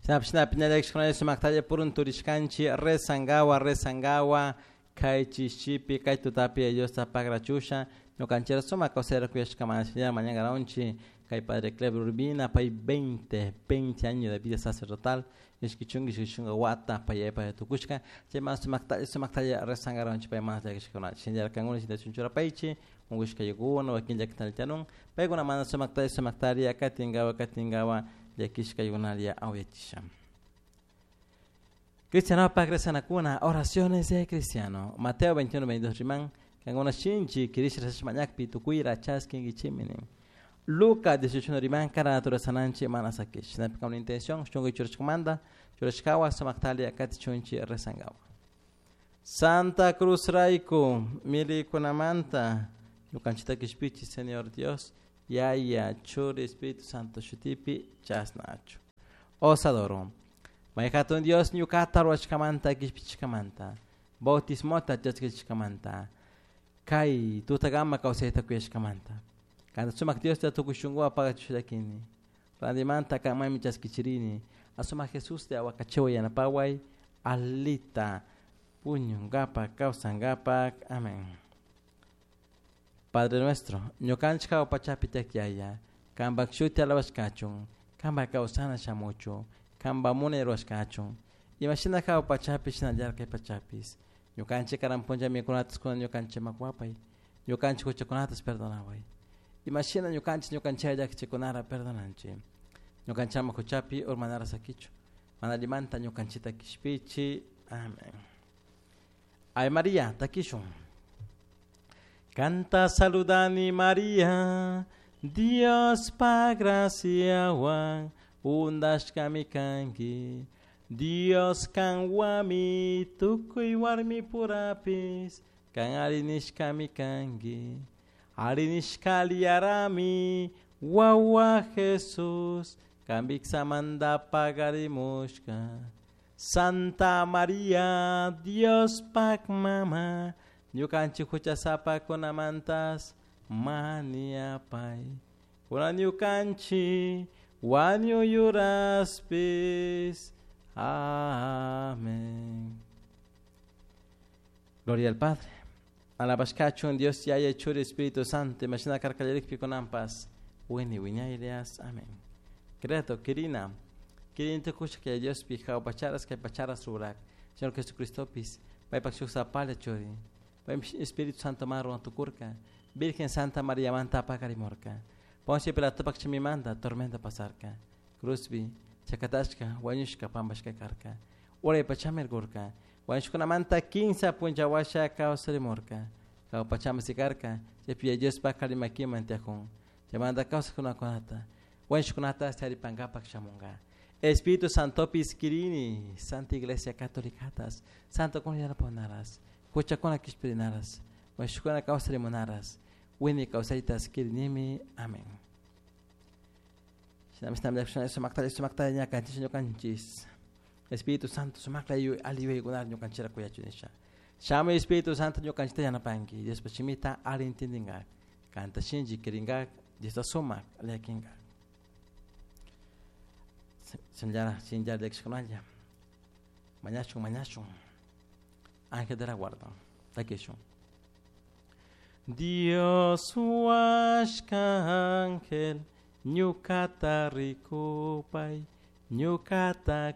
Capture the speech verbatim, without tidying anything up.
Shinapish piñallakishkunalla sumaktalla purun turishkanchik rezangawa rezangawa kay chishipi kay tutapi Diosta pagrachusha ñukanchik sumak kawsayta kuyashkamanta mañankaranchik kay Padre Clever Urbina pay veinte veinte años de vida sacerdotal ishki chunka ishki chunka wata pay pay tukushka chayman sumaktalla sumaktalla rezangaranchik pay mana llakishkuna shinallar kankuna shinachun churapaychik unkushkaykuna wakin llakitanun paykuna mana sumaktalla sumaktalla katinkawa katinkawa llakishkaykunalla awyachisha. Cristiano pa oraciones de cristiano. Mateo veintiuno veintidós riman, kankuna shinchi kirish rasashmañakpi tukuyra chaskinkichimini. Lucas dieciocho riman, kara naturaleza mana sakish. Shinapika una intención, shungu churashkamanta, churashkawa sumaktalia katichunchi rezangawa. Santa Cruz raiku, milikunamanta, ñukanchita kishpichi, Señor Dios, Yaya, Churi, Espíritu Santo, shutipi, chasnachu. Os adoro. Mayhatun Dios ñukata ruwashkamanta kishpichishkamanta, bautismota chaskishkamanta, kay tutagama kawsayta kuyashkamanta. Kanta sumak Dios ta tukuy shunkuwan pagachishallakini. Randimanta kanmanmi chaskichirini. Asumak Jesús te awakachiwa yanapaway alita puñunkapak kawsankapak. Amén. Padre nuestro, ñukanchik hawa pachapi tiyak kanpak shuti alabashkachun, kanpak kawsana shamuchun, kanpa munay ruwashkachun. Imashina hawa pachapi shinallar kay pachapis. Ñukanchik karan punlla mikunatas kuna ñukanchik makwapay. Ñukanchik huchakunatas perdonaway. Imashina ñukanchik ñukanchik llakichikunara perdonanchik. Ñukanchama huchapi urmanara sakichu. Mana allimanta ñukanchikta kishpichi. Amén. Ay María, takishun. Canta saludani María, Dios pa graciawan undashkami kanki. Dios kanwami tukuy warmi purapis, kan arinishkami kanki. Arinishkali yarami, wawa Jesús, kan biksamanta pagarimushka. Santa María, Dios pak mama, ñukanchik huchasapakunamantas maniapay. Kuna ñukanchik wañuyuraspis. Amén. Gloria al Padre. Alabashkachun Dios Yaya Churi Espíritu Santo. Imagina karkallarikpi kunampas. Wini wiñaylias. Amén. Credo, querina. Querina tukusha que Dios pija pacharas que pacharas rurak. Señor Jesucristo pis. Paypak shuk sapalla churi. Espíritu Santo marro tukurka. Virgen Santa María manta pakarimorka. Ponce Pilato pakchimimanta tormenta pasarka. Cruzbi, chakatashka, wañushka, pampashka karka. Uray pachamirgurka. Wañushkunamanta kinsa punchawasha kawsarimurka. Kaw pachamasikarka, chaypi Dios pakarimakiman tiajun. Chaymanta kawsakunakunata. Wañushkunata charipankapak shamunka. Espíritu Santo piskirini, Santa Iglesia Católicatas, Santo kun yanaponaras, huchakuna kishpirinaras, wañushkuna kawsarimunaras, wini kawsaytas kirinimi. Amén. Espíritu Santo sumakla aliyuykunar ñukanchira kuyachunisha. Shamuy Espíritu Santo ñukanchita yanapanki, Diospa shimita alli intindinka, kanta shinchi kirinka, Diosta sumak llakinka. Shinllara shinllara llakishkunalla. Mañashun mañashun. Ángel de la guarda. Takishun. Dios huashka ángel, ñukata rikupay, ñukata